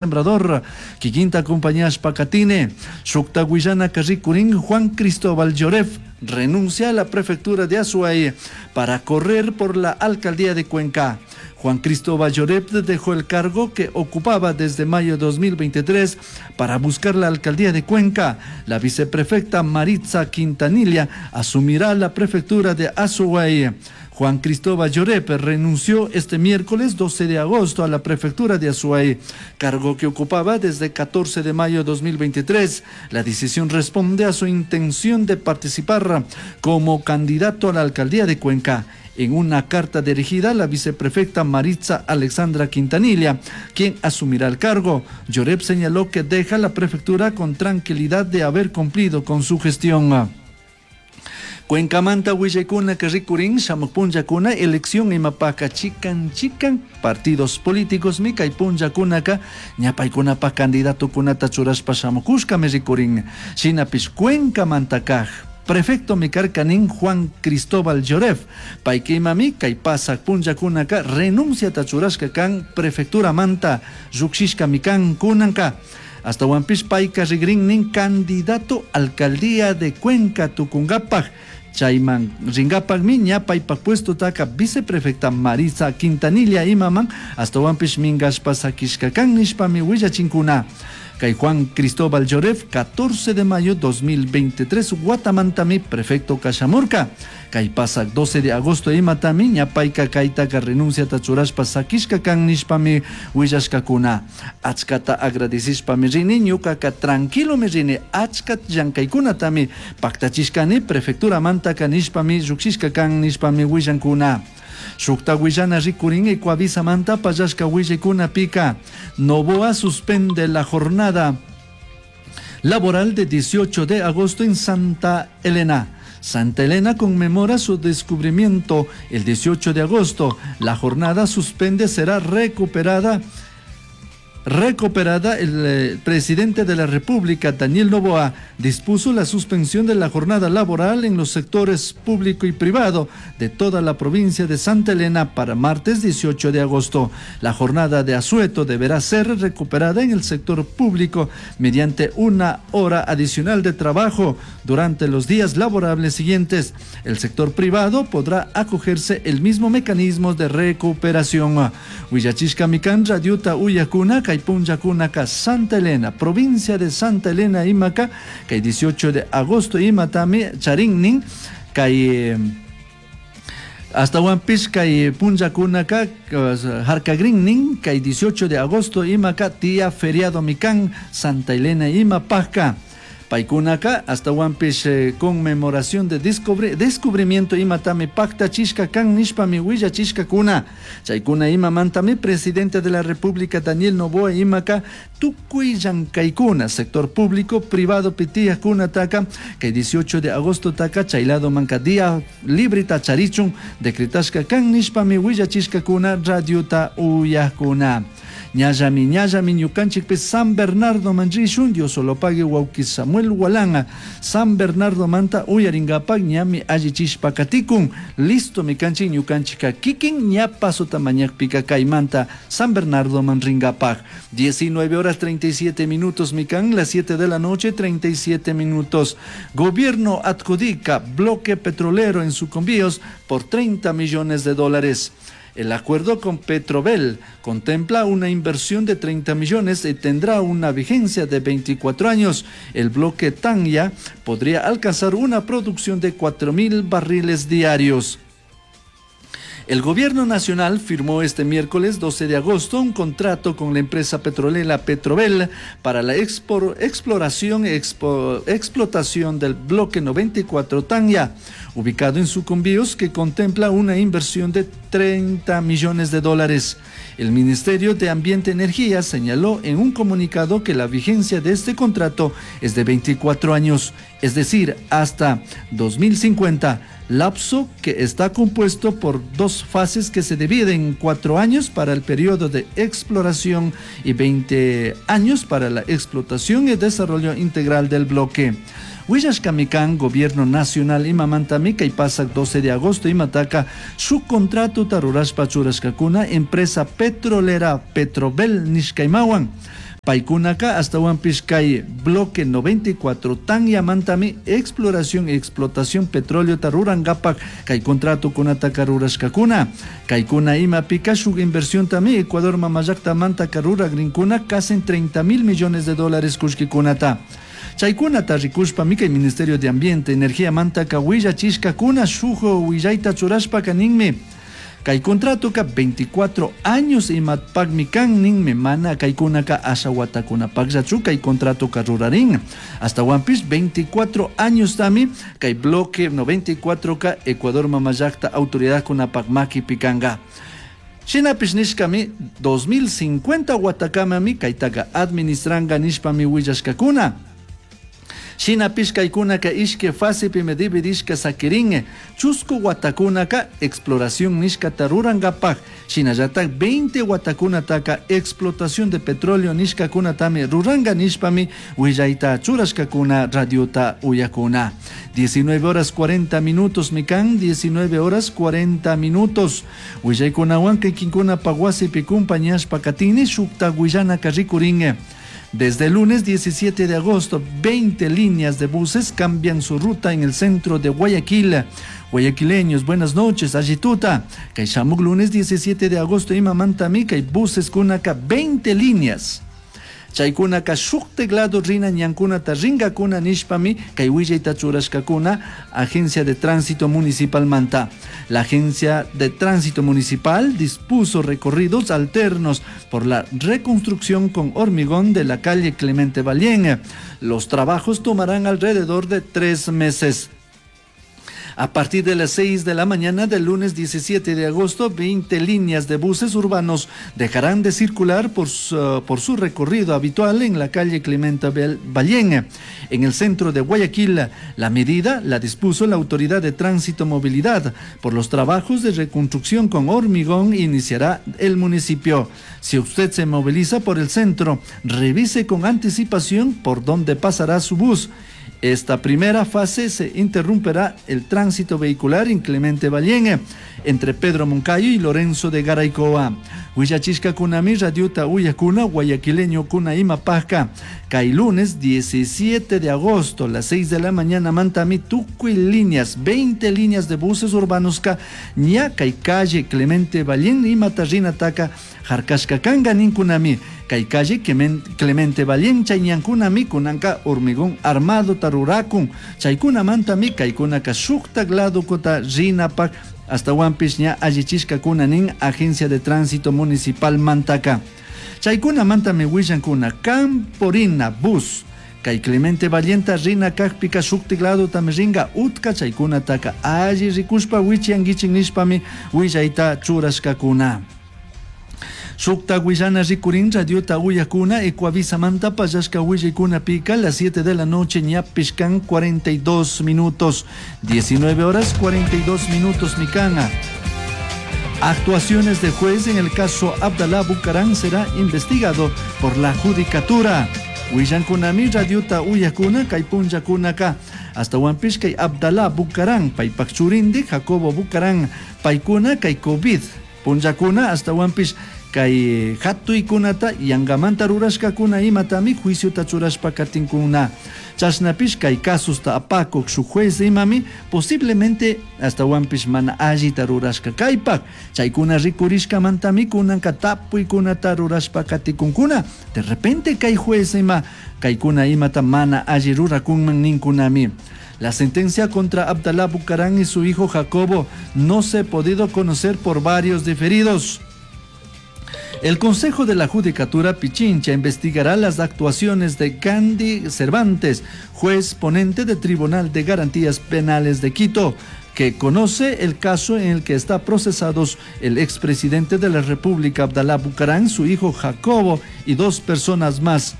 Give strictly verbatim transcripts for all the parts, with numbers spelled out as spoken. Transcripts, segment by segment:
Sembrador, kikinta acompañashpa katini. Shukta willanaka rikurin, Juan Cristóbal Lloref renuncia a la prefectura de Azuay para correr por la alcaldía de Cuenca. Juan Cristóbal Lloref dejó el cargo que ocupaba desde mayo de dos mil veintitrés para buscar la alcaldía de Cuenca. La viceprefecta Maritza Quintanilla asumirá la prefectura de Azuay. Juan Cristóbal Llorep renunció este miércoles doce de agosto a la prefectura de Azuay, cargo que ocupaba desde catorce de mayo de dos mil veintitrés. La decisión responde a su intención de participar como candidato a la alcaldía de Cuenca. En una carta dirigida a la viceprefecta Maritza Alexandra Quintanilla, quien asumirá el cargo, Llorep señaló que deja la prefectura con tranquilidad de haber cumplido con su gestión. Cuencamanta willaykunaka rikurin, shamuj punllakuna elección imapaka chikan chikan partidos políticos mi kay punllakunaka ña paykunapaj candidatokunata churashpa shamukushkami rikurin. Shinapish Cuencamanta kaj prefecto mi karka nin Juan Cristóbal Lloref, payka imami kay pasak punllakunaka renunciata churashka kan, prefecturamanta llukshishkami kan kunanka. Ashtahuanpish payka rigrin nin candidato alcaldía de Cuenca tukunkapaj. Chayman rinkapakmi ña paypak puestotaka viceprefecta Marisa Quintanilla imaman ashtahuanpish minkashpa sakishka kan nishpami willachinkuna. Kay Juan Cristóbal Lloref catorce de mayo dos mil veintitrés watamantami prefecto kashamurka. Kay pasak doce de agosto imatami ña payka kaytaka renunciata churashpa sakishka kan nishpami willashkakuna. Achkata agradecishpami rini, ñukaka tranquilomi rini, achka llankaykunatami paktachishkani prefecturamantaka nishpami llukshishka kan nishpami willankuna. Shukta willana rikurin, Ecuavisamanta pallashka willaykunapika, Noboa suspende la jornada laboral de dieciocho de agosto en Santa Elena. Santa Elena conmemora su descubrimiento el dieciocho de agosto. La jornada suspende será recuperada recuperada. El eh, presidente de la República, Daniel Noboa, dispuso la suspensión de la jornada laboral en los sectores público y privado de toda la provincia de Santa Elena para martes dieciocho de agosto. La jornada de asueto deberá ser recuperada en el sector público mediante una hora adicional de trabajo durante los días laborables siguientes. El sector privado podrá acogerse el mismo mecanismo de recuperación. Willachishkami kan radiota uyajkuna kay punllakunaka Santa Elena, provincia de Santa Elena imaka, kay dieciocho de agosto imatami charin kay ashtahuanpish kay punllakunaka harkagrin nin kay dieciocho de agosto imaka día feriado mi kan Santa Elena imapajka. Paykunaka ashtahuanpish eh, conmemoración de descubri descubrimiento imatami paktachishka kan nishpami willachishkakuna. Chaykuna imamantami presidente de la República, Daniel Noboa, imaka tukuy llankaykuna sector público privado pi tiyajkunataka kay dieciocho de agosto taka chay ladomanka día libreta charichun decretashka kan nishpami willachishkakuna radiota uyajkuna. Ñallami, ñallami ñukanchikpi San Bernardo man rishun. Dios solo pague wawki Samuel Walanga San Bernardo manta uyaringapak ñami allichishpa katikun. Listo mi kanchik ñukanchika kikin ña pasota mañakpika kaymanta San Bernardo man ringapak. diecinueve horas treinta y siete minutos mi kan, las siete de la noche treinta y siete minutos. Gobierno adjudica bloque petrolero en Sucumbíos por treinta millones de dólares. El acuerdo con Petrobel contempla una inversión de treinta millones y tendrá una vigencia de veinticuatro años. El bloque Tanya podría alcanzar una producción de cuatro mil barriles diarios. El gobierno nacional firmó este miércoles doce de agosto un contrato con la empresa petrolera Petrobel para la exploración y explotación del bloque noventa y cuatro Tanya, ubicado en Sucumbíos, que contempla una inversión de treinta millones de dólares. El Ministerio de Ambiente y Energía señaló en un comunicado que la vigencia de este contrato es de veinticuatro años, es decir, hasta dos mil cincuenta, lapso que está compuesto por dos fases que se dividen en cuatro años para el periodo de exploración y veinte años para la explotación y desarrollo integral del bloque. Willashkami kan Gobierno Nacional imamantami kay pasak doce de agosto imataka shuk contrato rurashpa churashkakuna empresa petrolera Petrobel nishkaymawan. Paykunaka astawanpish kay bloque noventa y cuatro tanyamantami exploración y explotación petróleo rurankapak kay contratokunataka rurashkakuna. Kaykuna imapika shuk inversiontami Ecuador mamallaktamantaka ruragrinkuna casi treinta mil millones de dólares kullkikunata. Chaykunata rikushpami kay Ministerio de Ambiente, Energía mantaka willachishkakuna shuk willayta churashpaka ninmi. Kay contratoka veinticuatro años imapakmi kan ninmi, mana kaykunaka asha watakunapakllachu kay contratoka rurarin. Astawanpish veinticuatro años tami kay bloque noventa y cuatro ka Ecuador mamallakta autoridadkunapak makipi kanka. Shinapish nishkami dos mil cincuenta watakamami kaytaka administranka nishpami willashkakuna. Shinapish kaykunaka ishke fasepimi dividishka sakirin, chusku watakunaka exploración nishkata rurankapak, shinallatak veinte watakunataka explotación de petróleo nishkakunatami ruranka nishpami willayta churashkakuna radiota uyakuna. diecinueve horas cuarenta minutos mikan, diecinueve horas cuarenta minutos. Willaykunawan kikinkuna wasipi kumpañashpa katini shukta willanaka rikurin. Desde el lunes diecisiete de agosto, veinte líneas de buses cambian su ruta en el centro de Guayaquil. Guayaquileños, buenas noches, allituta. Kay shamuk lunes diecisiete de agosto, imamantami, kay buses kunaka veinte líneas. Chaykunaka shuk teclado rina ñankunata ringakuna nishpami kay willayta churashkakuna Agencia de Tránsito Municipal Manta. La Agencia de Tránsito Municipal dispuso recorridos alternos por la reconstrucción con hormigón de la calle Clemente Vallien. Los trabajos tomarán alrededor de tres meses. A partir de las seis de la mañana del lunes diecisiete de agosto, veinte líneas de buses urbanos dejarán de circular por su, por su recorrido habitual en la calle Clemente Vallien, en el centro de Guayaquil. La medida la dispuso la Autoridad de Tránsito Movilidad. Por los trabajos de reconstrucción con hormigón iniciará el municipio. Si usted se moviliza por el centro, revise con anticipación por dónde pasará su bus. Esta primera fase se interrumpirá el tránsito vehicular en Clemente Vallien, entre Pedro Moncayo y Lorenzo de Garaycoa. Huillachisca kunami radiota uyakuna guayaquileño kuna imapajka. Kay lunes diecisiete de agosto, las seis de la mañana, mantami tukuy líneas, veinte líneas de buses urbanos ka ña kay calle Clemente Vallien y Matarrina taka jarkashka kanga ninkunami. Kay calle Clemente Vallien chayñankunami kunanka hormigón armado tarurakun. Chaykuna mantami kaykunaka shuktak lado kota rinapak hasta Huampish ña allichishka kunanin Agencia de Tránsito Municipal Mantaka. Chaykuna mantami willankuna Camporina bus. Kay Clemente Valienta rina kakpika shuktik lado tamiringa utka chaykuna taka alli rikushpa wichianguichin nishpami willayta churashkakuna. Shukta willana rikurin radiota uyakuna Ecuavisa manta payashka willaykuna pika las siete de la noche ñapishkan cuarenta y dos minutos, diecinueve horas cuarenta y dos minutos mikana. Actuaciones de juez en el caso Abdalá Bucaram será investigado por la judicatura. Willankunami radiota uyakuna kay punllakunaka hasta Huampish kay Abdalá Bucaram paypak churindi Jacobo Bucaram paykuna kay COVID punllakuna hasta Huampish kay hatuykunata yangamanta rurashkakuna imatami juiciota churashpa katinkuna. Chashnapish kay kasusta apakuk shuk juez imami posiblemente hasta Huampish mana allita rurashka kaypak chaykuna rikurishkamantami kunanka tapuykunata rurashpa katikunkuna. De repente kay juez ima kaykuna imata mana alli rurakunman ninkunami. La sentencia contra Abdalá Bucaram y su hijo Jacobo no se ha podido conocer por varios diferidos. El Consejo de la Judicatura Pichincha investigará las actuaciones de Gandhi Cervantes, juez ponente del Tribunal de Garantías Penales de Quito, que conoce el caso en el que está procesados el expresidente de la República, Abdalá Bucaram, su hijo Jacobo y dos personas más.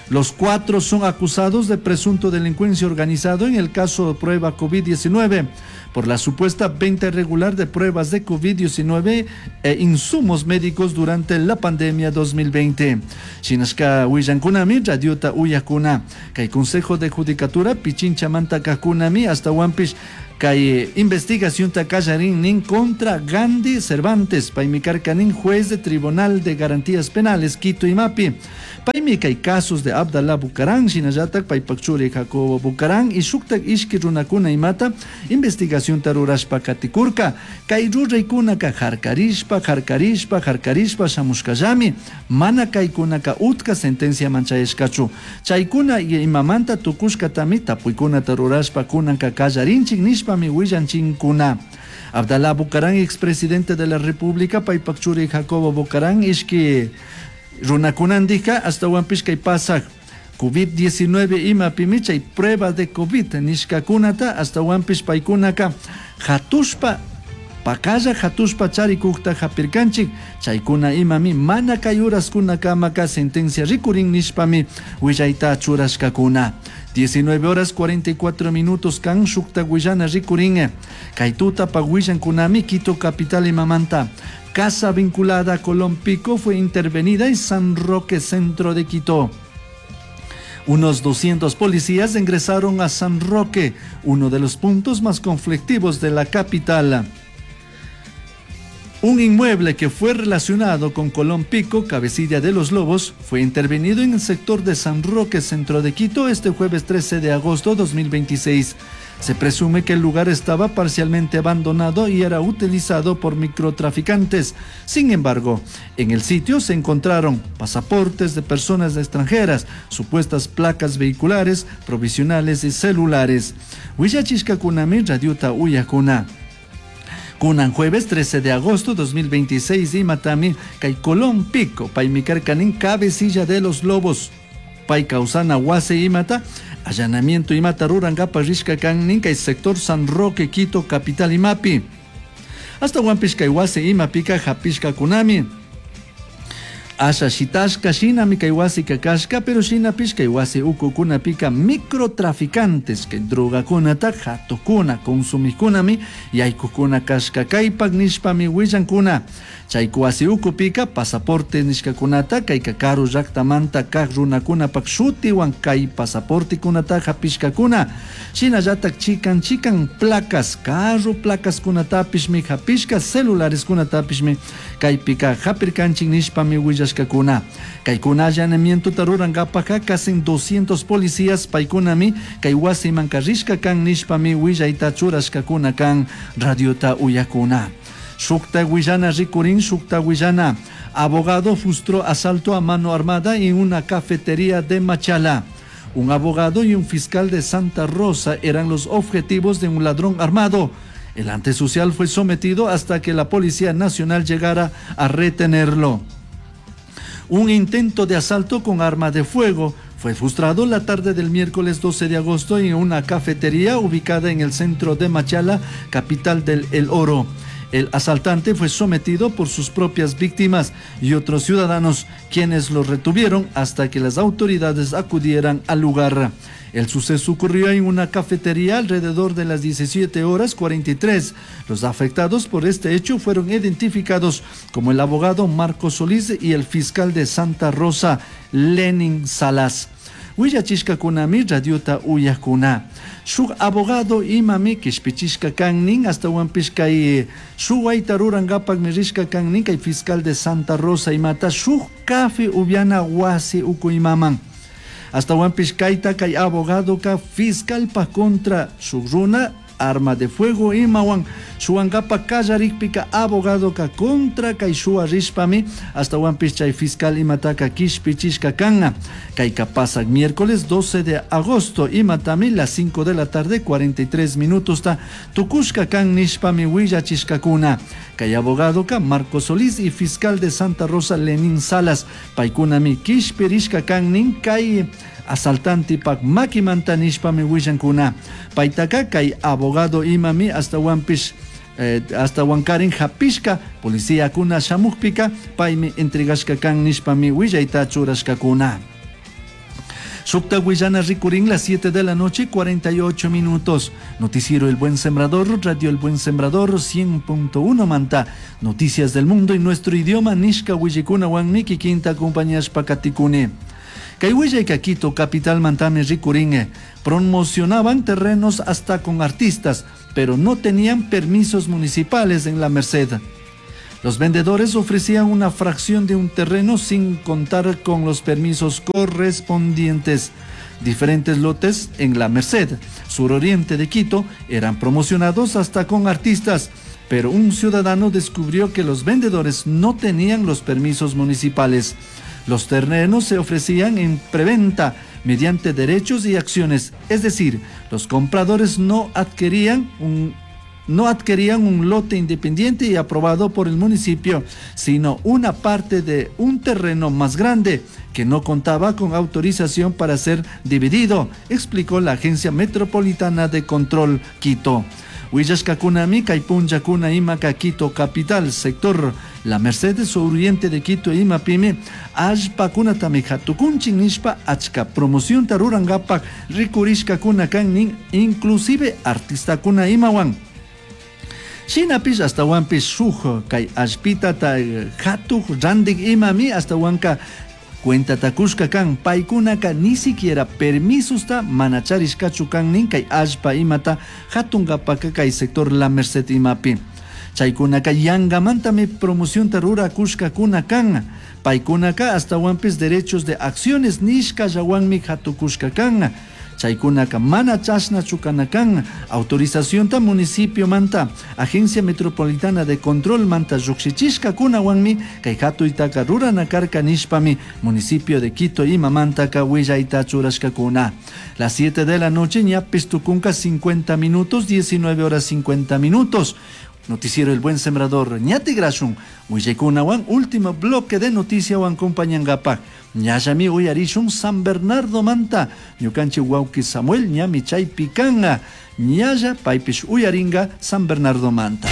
Los cuatro son acusados de presunto delincuencia organizado en el caso de prueba COVID diecinueve por la supuesta venta irregular de pruebas de COVID diecinueve e insumos médicos durante la pandemia dos mil veinte. Shinashka willankunami, radiota uyakuna. Kay Consejo de Judicatura, Pichincha manta kakunami, hasta Huampish, Kay investigación kallarin nin contra Gandhi Cervantes, paymi karka nin juez de Tribunal de Garantías Penales Quito imapi. Paymi kay casos de Abdalá Bucaram, shinallatak paypak churi Jacobo Bucaram y shuktak ishki runakuna imata investigación rurashpa katikurka. Kay ruraykunaka harkarishpa, harkarishpa, harkarishpa shamushkallami, mana kaykunaka utka sentencia manchayashkachu. Chaykuna imamanta tukushkatami tapuykunata rurashpa kunanka kallarinchik nishpami willanchinkuna. Abdalá Bucaram, expresidente de la República, paypak churi Jacobo Bucaram, ishki runakunandika ashtawanpish kay pasak COVID diecinueve imapimi chay prueba de COVID nishkakunata ashtawanpish paykunaka hatushpa pakalla hatushpa charikukta hapirkanchik chaykuna imami mana kay uraskunakamaka sentencia rikurin nishpami willayta churashkakuna. diecinueve horas cuarenta y cuatro minutos kan shukta willana rikurin kay tutapa willankunami Quito capital imamanta. Casa vinculada a Colón Pico fue intervenida en San Roque, centro de Quito. Unos doscientos policías ingresaron a San Roque, uno de los puntos más conflictivos de la capital. Un inmueble que fue relacionado con Colón Pico, cabecilla de los Lobos, fue intervenido en el sector de San Roque, centro de Quito, este jueves trece de agosto de dos mil veintiséis. Se presume que el lugar estaba parcialmente abandonado y era utilizado por microtraficantes. Sin embargo, en el sitio se encontraron pasaportes de personas extranjeras, supuestas placas vehiculares, provisionales y celulares. Huillachishkakunami radiota uyakuna. Kunan jueves trece de agosto dos mil veintiséis imatami kay Colón Pico, paymi karkanin cabecilla de los Lobos. Pay causana wasi imata, allanamiento imata rurankapa rishka kan kay sector San Roque, Quito, capital imapi. Hasta wampish kay wasi imapika hapishka kunami. Asha shitashka shinami kay wasi kakashka, pero shinapish kay wasi ukukunapika microtraficantes kay drogakunata hatukuna consumikunami yaykukuna kashka kaypak nishpami willankuna. Chay wasi ukupika pasaporte nishkakunata kay karu llaktamanta kak runakunapak shutiwan kay pasaportekunata hapishkakuna. Shinallatak chikan chikan placas, carro placaskunatapishmi hapishka, celulareskunatapishmi kaypika hapirkanchin nishpami willashkakuna. Kaykuna allanamientota rurankapaka casi doscientos policías paykunami kay wasiman karishka kan nishpami willayta churashkakuna kan radiota uyakuna. Shukta willana rikurin, shukta willana. Abogado frustró asalto a mano armada en una cafetería de Machala. Un abogado y un fiscal de Santa Rosa eran los objetivos de un ladrón armado. El antisocial fue sometido hasta que la Policía Nacional llegara a retenerlo. Un intento de asalto con arma de fuego fue frustrado la tarde del miércoles doce de agosto en una cafetería ubicada en el centro de Machala, capital del El Oro. El asaltante fue sometido por sus propias víctimas y otros ciudadanos, quienes lo retuvieron hasta que las autoridades acudieran al lugar. El suceso ocurrió en una cafetería alrededor de las diecisiete horas cuarenta y tres. Los afectados por este hecho fueron identificados como el abogado Marco Solís y el fiscal de Santa Rosa, Lenin Salas. Huillachishkakunami radiota uyakuna. Shuk abogado imami kishpichishka kannin hasta wampishkay shuwayta rurankapakmi rishka kannin kay fiscal de Santa Rosa imata shuk kafe ubiana wasi uku imaman. Hasta wampishkayta kay abogado ka fiscal pa contra shuk runa arma de fuego imawan shuwankapa kallarikpika abogado ka contra kay shuwa rishpami hasta wampis chay fiscal imataka kishpichishka kanna. Kayka pasak miércoles doce de agosto imatami las cinco de la tarde cuarenta y tres minutos ta tukushka kan nishpami willachishkakuna. Kay abogado ka Marco Solís y fiscal de Santa Rosa Lenín Salas paykunami kishpirishka kannin kay asaltante pak makimanta nishpami willankuna. Paytaka kay abogado imami hasta wampis, eh, hasta wankarin hapishka policía kuna shamukpika paymi entregashka kan nishpami willayta churashkakuna. Shukta willana rikurin las siete de la noche, cuarenta y ocho minutos. Noticiero El Buen Sembrador, Radio El Buen Sembrador, cien punto uno Manta. Noticias del mundo en nuestro idioma, Nishka Willikuna, Wanmiki, Quinta, compañías Pakatikune. Kay willayka Quito capitalmantami rikurin. Promocionaban terrenos hasta con artistas, pero no tenían permisos municipales en La Merced. Los vendedores ofrecían una fracción de un terreno sin contar con los permisos correspondientes. Diferentes lotes en La Merced, suroriente de Quito, eran promocionados hasta con artistas, pero un ciudadano descubrió que los vendedores no tenían los permisos municipales. Los terrenos se ofrecían en preventa mediante derechos y acciones, es decir, los compradores no adquirían un no adquirían un lote independiente y aprobado por el municipio, sino una parte de un terreno más grande que no contaba con autorización para ser dividido, explicó la Agencia Metropolitana de Control Quito. Willashkakunami kay punllakuna imaka Quito capital sector La Mercedes Oriente de Quito imapimi allpakunatami hatukunchin nishpa achka promocionta rurankapak rikurishkakuna kan nin inclusive artistakuna imawan. Shinapish ashtawanpish shuk kay allpitata hatuk randik imami ashtawanka cuentata kushka kan paykunaka ni siquiera permisusta mana charishkachu kan nin kay allpa imata hatunkapaka kay sector La Merced imapi. Chaykunaka yangamantami promocionta rurakushkakuna kan. Paykunaka ashtawanpish derechos de acciones nishkallawanmi hatukushka kan. Chaykunaka mana chashnachu kana kan. Autorizacionta municipio manta, Agencia Metropolitana de Control manta llukshichishkakunawanmi kay hatuytaka rurana karka nishpami municipio de Quito imamantaka willayta churashkakuna. Las siete de la noche ñapis tukunka cincuenta minutos, diecinueve horas cincuenta minutos. Noticiero El Buen Sembrador, ñatigrashun, willaykunawan, último bloque de noticia wan compañangapak. Ñallami uyarishun San Bernardo manta, ñukanchik wawki Samuel ñami chaypi kanga, ñalla paypish uyaringa San Bernardo manta.